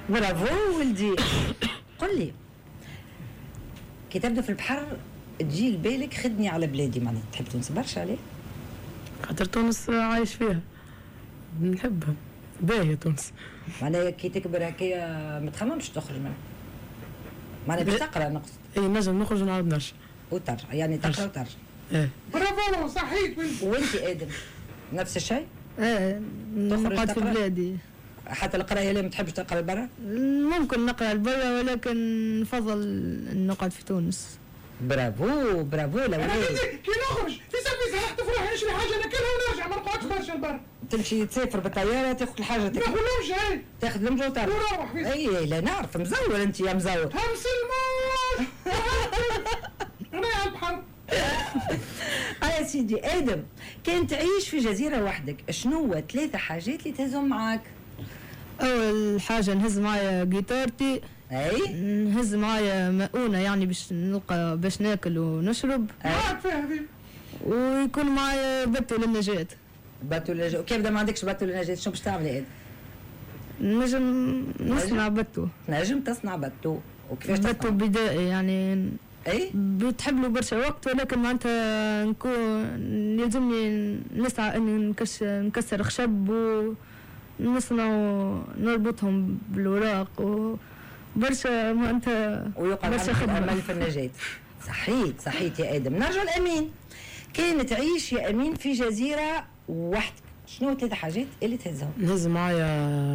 برافو ولدي. قل لي كي تبدا في البحر تجي لبالك خدني على بلادي، معناها تحب تونس برشا عليه؟ خاطر تونس عايش فيها، نحبها، باهية تونس. معناها كي تكبر هكايا ما تخممش تخرج منها؟ معناها باش تقرا نقصد. اي نجم نخرج ونعاود نرجع. وترجع، يعني تقرا وترجع. ايه برافو صحيت. وانت ادم نفس الشيء؟ ايه نقعد في بلادي. حتى القراية لا ما تحبش تقرا لبرا؟ ممكن نقرا لبرا ولكن نفضل نقعد في تونس. برافو برافو. انا كي نخرج في سبيل نخطف روحي نشري حاجة ناكلها ونرجع، ما نقعدش برشا لبرا. تمشي تسافر بالطيارة تاخذ الحاجة، تاخذ لمجه. تاخذ لمجه وترجع ونروح. اي لا نعرف مزور انت يا مزور. همس الموج انا على البحر. يا سيدي ادم، كان تعيش في جزيرة وحدك، شنو ثلاثة حاجات اللي تهزهم معاك؟ اول حاجة نهز معايا جيتارتي. اي نهز معايا مؤونة يعني باش نلقى باش ناكل ونشرب. معاك فيها هذه. ويكون معايا bateau للنجاة. bateau للنجاة، كيف ما عندكش bateau للنجاة شنو باش تعمل يا ادم؟ نجم نصنع bateau. نجم تصنع bateau. وكيفاش bateau بدائي يعني؟ اي بتحب له برشا وقت، ولكن معناتها نكون يلزمني نسعى اني نكسر خشب ونصنع نربطهم بالوراق وبرشا معناتها ويقع برشا خدمة. امل في النجاة. صحيت صحيت يا ادم. نرجع لامين. كان تعيش يا امين في جزيرة وحدك، شنو ثلاث حاجات اللي تهزهم؟ نهز معايا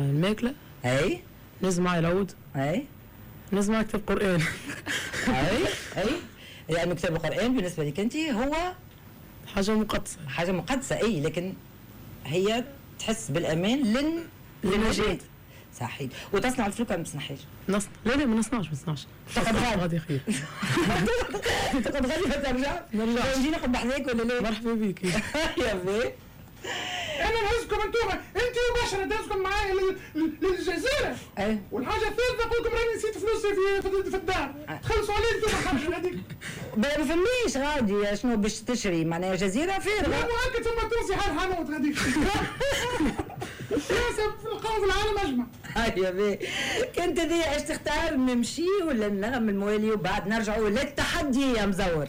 الماكلة. اي نهز معايا العود. اي نهز معايا كتاب قرآن. اي اي لانه كتاب القرآن بالنسبة لك انت هو حاجة مقدسة. حاجة مقدسة اي، لكن هي تحس بالامان للنجاة. صحيح. وتصنع الفلوكة ما تصنعهاش؟ نصنع. لا لا ما نصنعش ما نصنعش. تقعد غادي خير. تقعد غادي ما ترجع؟ نرجع. نجي ناخذ بحذاك ولا لا؟ مرحبا بك. يا بي انا نهزكم انتوما انت وبشرة نهزكم معايا للجزيرة. ايه والحاجة الثالثة نقول لكم راني نسيت فلوسي في الدار، تخلصوا علي انتوما الخرجه هذيك. ما فماش غادي شنو باش تشري، معناها جزيرة فارغة. لا مؤكد ثم تونسي حال حانوت غاديك. نلقاو في العالم اجمع. هيا بي كنت هذه اش تختار، نمشي ولا النغم الموالي وبعد نرجعوا للتحدي يا مزور؟